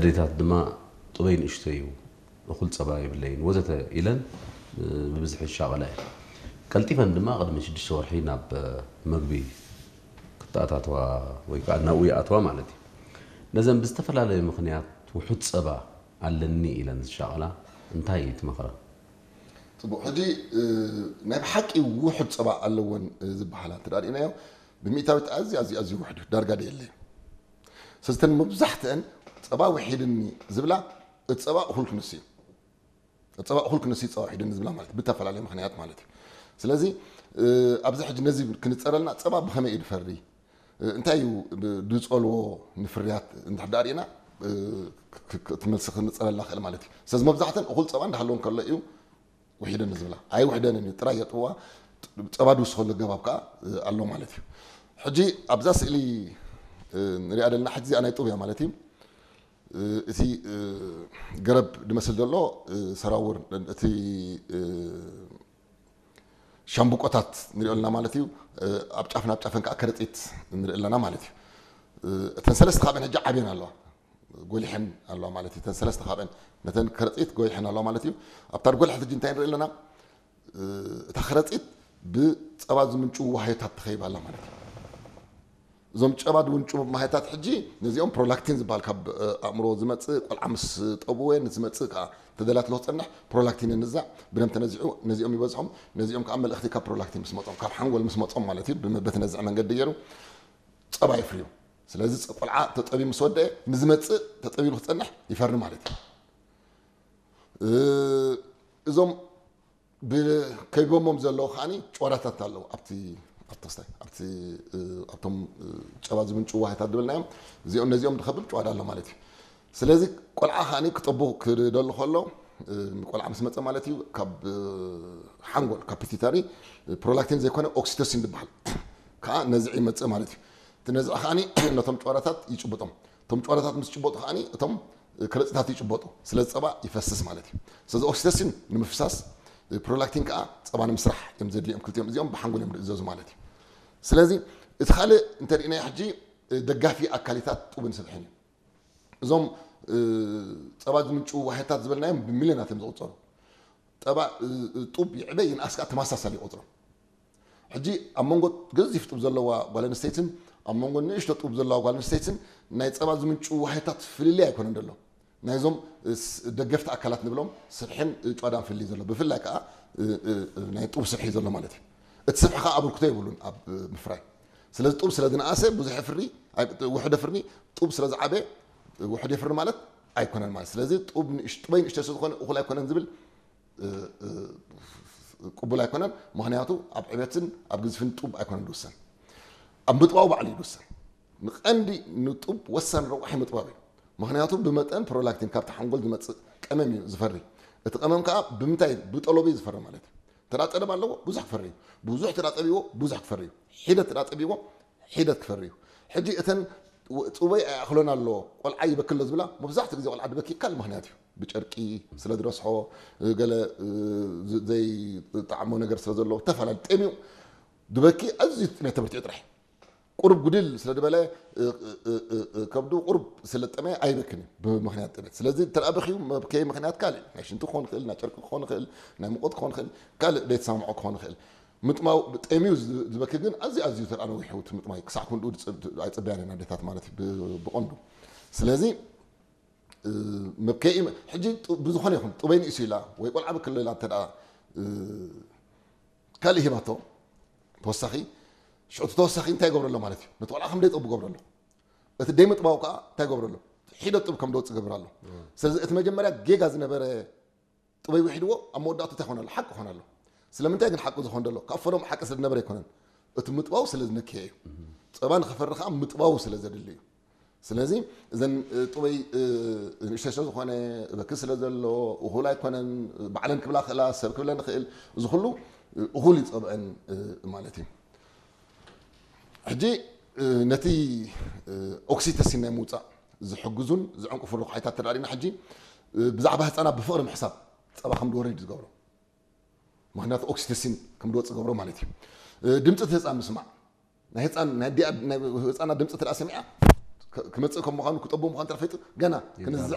ኣዴታት ድማ ጥበይ ንእሽቶ እዩ፣ እኹል ጸባ የብለይን ወዘተ ኢለን ብብዝሒ ይሻቐላ እየን። ቀልጢፈን ድማ ቅድሚ ሽዱሽተ ወርሒ ናብ መግቢ ክተኣታተዋ ወይ ከዓ ናብኡ ይኣትዋ ማለት እዩ። ነዘን ብዝተፈላለየ ምኽንያት ውሑድ ጸባ ኣለኒ ኢለን ዝሻቐላ እንታይ ትመኽረን? ፅቡቅ። ሕጂ ናይ ብሓቂ ውሑድ ፀባ ኣለወን ዝበሃላ እንተ ርኢናዮ፣ ብሚእታዊት ኣዝዩ ኣዝዩ ኣዝዩ ውሕድ እዩ፣ ዳርጋ ደየለ እዩ። ስለዝተን መብዛሕትአን ፀባ ውሒድኒ ዝብላ፣ እቲ ፀባ እኹል ክንስ እዩ፣ እቲ ፀባ እኹል ክንስ እዩ፣ ፀባ ውሒድኒ ዝብላ ማለት ብተፈላለየ ምክንያት ማለት እዩ። ስለዚ ኣብዚ ሕጂ ነዚ ክንፀረልና፣ ፀባ ብኸመይ እዩ ድፈሪ? እንታይ እዩ ድፀልዎ ንፍርያት እንድሕር ዳኣ ርኢና፣ እቲ መልሲ ክንፀረልና ክእል ማለት እዩ። ስለዚ መብዛሕተን እኹል ፀባ እንዳሃለወን ከሎ እዩ ውሒደን ዝብላ። ኣይውሕደንን እዩ፣ ጥራይ የጥብዋ። ፀባ ድውስኸሉ ኣገባብ ከዓ ኣሎ ማለት እዩ። ሕጂ ኣብዛ ስእሊ ንሪኣ ዘለና ሕጂ እዚኣ ናይ ጡብ እያ ማለት እዩ። እቲ ገረብ ድመስል ዘሎ ሰራውር፣ እቲ ሻምብቆታት ንሪኦ ኣለና ማለት እዩ። ኣብ ጫፍን ኣብ ጫፍን ከዓ ከረፂት ንርኢ ኣለና ማለት እዩ። እተን ሰለስተ ካብአን ሕጂ ዓብየን ኣለዋ፣ ጎሊሐን ኣለዋ ማለት እዩ። እተን ሰለስተ ካብአን ነተን ከረፂት ጎሊሐን ኣለዋ ማለት እዩ። ኣብታ ጎልሐት ሕጂ እንታይ ንርኢ ኣለና? እታ ከረፂት ብፀባ ዝምንጭው ዋህዮታት ተኸይባ ኣላ ማለት እዩ። እዞም ጨባ ድውንጭ ማህያታት ሕጂ ነዚኦም ፕሮላክቲን ዝበሃል ካብ ኣእምሮ ዝመፅእ፣ ቆልዓ ምስ ጠብወ ንዝመፅእ ከዓ ተደላትሎ ክፀንሕ ፕሮላክቲን ንዛዕ ብደም ተነዚዑ ነዚኦም ይበዝሖም። ነዚኦም ከዓ መልእኽቲ ካብ ፕሮላክቲን ምስ መፆም፣ ካብ ሓንጎል ምስ መፆም ማለት እዩ፣ በቲ ነዝዕ መንገዲ ገይሩ ፀባ ይፍርዩ። ስለዚ ቆልዓ ተጠብዩ ምስ ወደአ ንዝመፅእ ተጠብዩ ክፀንሕ ይፈሪ ማለት እዩ። እዞም ከቢቦሞም ዘለዉ ከዓኒ ጭዋዳታት ኣለዉ። ኣብቲ ኣብቲ ክስታይ ኣብቲ ኣብቶም ጨባ ዝምንጭ ዋህታት ዝበልናዮም እዚኦም ነዚኦም ድኸብብ ጭዋዳ ኣሎ ማለት እዩ። ስለዚ ቆልዓ ከዓኒ ክጠቡ ክደሉ ከሎ፣ ቆልዓ ምስ መፀ ማለት እዩ፣ ካብ ሓንጎል ካብ ፒቲታሪ ፕሮላክቲን ዘይኮነ ኦክሲቶሲን ዝበሃል ከዓ ነዝዒ ይመፅእ ማለት እዩ። እቲ ነዝዒ ከዓኒ ነቶም ጭዋዳታት ይጭብጦም። እቶም ጭዋዳታት ምስ ጭበጡ ከዓኒ እቶም ከረፂታት ይጭበጡ። ስለዚ ፀባ ይፈስስ ማለት እዩ። ስለዚ ኦክሲቶሲን ንምፍሳስ፣ ፕሮላክቲን ከዓ ፀባ ንምስራሕ እዮም ዘድልዮም። ክልቲኦም እዚኦም ብሓንጎል እዮም ዝእዘዙ ማለት እዩ። ስለዚ እቲ ካልእ እንተሪእናዮ ሕጂ ደጋፊ ኣካሊታት ጡብን ስብሕን እዩ። እዞም ፀባ ዝምንጭ ዋህታት ዝበልናዮም ብሚልዮናት እዮም ዝቁፀሩ። ጠባ ጡብ ይዕበ ይንኣስ ከዓ ተመሳሳሊ ይቆፅሮም። ሕጂ ኣብ መንጎ ገዚፍ ጡብ ዘለዋ ጓል ኣንስተይትን ኣብ መንጎ ንእሽቶ ጡብ ዘለዋ ጓል ኣንስተይትን ናይ ፀባ ዝምንጭ ዋህታት ፍልልይ ኣይኮነን ዘሎ። ናይዞም ደገፍቲ ኣካላት ንብሎም ስብሕን ጨዳን ፍልልይ ዘሎ፣ ብፍላይ ከዓ ናይ ጡብ ስብሒ ዘሎ ማለት እዩ። እቲ ስብሒ ከዓ ኣበርክቶ የብሉን ኣብ ምፍራይ። ስለዚ ጡብ ስለ ዝነኣሰ ብዙሕ ፍሪ፣ ውሕደ ፍርኒ፣ ጡብ ስለ ዝዓበ ውሕድ የፍሪ ማለት ኣይኮነን ማለት። ስለዚ ጡብ ንእሽ- ጡበይ ንእሽተ ስለ ዝኾነ እኹል ኣይኮነን ዝብል ቅቡል ኣይኮነን። ምክንያቱ ኣብ ዕቤትን ኣብ ግዝፍን ጡብ ኣይኮነን ዝውሰን፣ ኣብ ምጥባው ባዕሉ እዩ ዝውሰን። ንቀንዲ ንጡብ ወሳኒ ረቋሒ ምጥባብ እዩ። ምክንያቱ ብመጠን ፕሮላክቲን ካብቲ ሓንጎል ዝመፅእ ቀመም እዩ ዝፈሪ። እቲ ቀመም ከዓ ብምንታይ? ብጠለቡ እዩ ዝፈሪ ማለት እዩ። ተዳ ጠለብ ኣለዎ ብዙሕ ክፈሪ እዩ። ብዙሕ ተዳ ጠቢዎ ብዙሕ ክፈሪ እዩ። ሒደት ተዳ ጠቢዎ ሒደት ክፈሪ እዩ። ሕጂ እተን ጡበይ ኣይኣኽሎን ኣሎ፣ ቆልዓ ይበክሎ ዝብላ መብዛሕትኡ ግዜ ቆልዓ ድበኪ ካልእ ምክንያት እዩ። ብጨርቂ ስለ ዝረስሖ፣ ገለ ዘይጠዓሞ ነገር ስለ ዘሎ፣ ተፈላለዩ ጠምዩ ድበኪ፣ ኣዝዩ ጥሜት ተበርቲዑ ጥራሕ። ቁሩብ ጉድል ስለ ዝበለ፣ ከብዱ ቁሩብ ስለ ጠመየ ኣይበክን እዩ ብምክንያት ጥሜት። ስለዚ እንተ በኪዩ መብከይ ምክንያት ካልእ ናይ ሽንቲ ክኾን ይኽእል፣ ናይ ጨርቂ ክኾን ይኽእል፣ ናይ ሙቐት ክኾን ይኽእል፣ ካልእ ዘይተሳምዖ ክኾን ይኽእል። ምጥማው ጠምዩ ዝበኪ ግን ኣዝዩ ኣዝዩ ተርኣ ነዊሑ እቲ ምጥማይ ክሳዕ ክንድኡ ኣይፅበያን እየን ኣዴታት ማለት እዩ ብቐንዱ። ስለዚ መብከኢ ሕጂ ብዝኾነ ይኹን ጡበይ ንእሱ ኢላ ወይ ቆልዓ ብክልላ እንተ ካልእ ሂባቶ ተወሳኺ ሽዑ ተወሳኺ እንታይ ይገብረሎ ማለት እዩ? ነቲ ቆልዓ ከም ደይጠቡ ገብረሎ። እቲ ደይምጥባው ከዓ እንታይ ገብረሎ? ሒደት ጡብ ከም ደወፅእ ገብር ኣሎ። ስለዚ እቲ መጀመርያ ጌጋ ዝነበረ ጥበይ ውሒድዎ ኣብ መወዳእቱ እንታይ ኾነ ኣሎ? ሓቂ ኾነ ኣሎ። ስለምንታይ ግን ሓቂ ዝኾን ዘሎ? ካብ ፈሎም ሓቂ ስለ ዝነበረ ኣይኮነን። እቲ ምጥባው ስለ ዝነክየ እዩ። ፀባ ንኸፈሪ ከዓ ምጥባው ስለ ዘድሊ እዩ። ስለዚ እዘን ጥበይ ንእሽተይ ስለ ዝኾነ በኪ ስለ ዘሎ እኹል ኣይኮነን፣ ባዕለን ክብላ ክእላ፣ ሰብ ክብለን ይኽእል። እዚ ኩሉ እኹል ይፀብዐን ማለት እዩ። ሕጂ ነቲ ኦክሲቶሲን ናይ ምውፃእ ዝሕግዙን ዝዕንቅፉ ረቑሒታት ተዳሪና ሕጂ ብዛዕባ ህፃናት ብፍቕሪ ምሕሳብ ፀባ ከም ድወርድ ዝገብሮ። ምክንያቱ ኦክሲቶሲን ከም ድወፅ ገብሮ ማለት እዩ። ድምፂ እቲ ህፃን ምስማዕ ናይ ህፃን ናይ ኣዲኣ ናይ ህፃና ድምፂ ተዳ ሰሚዓ ክመፅእ ከም ምዃኑ ክጠቡ ምዃኑ ተፈይጡ ገና ክንዝዕ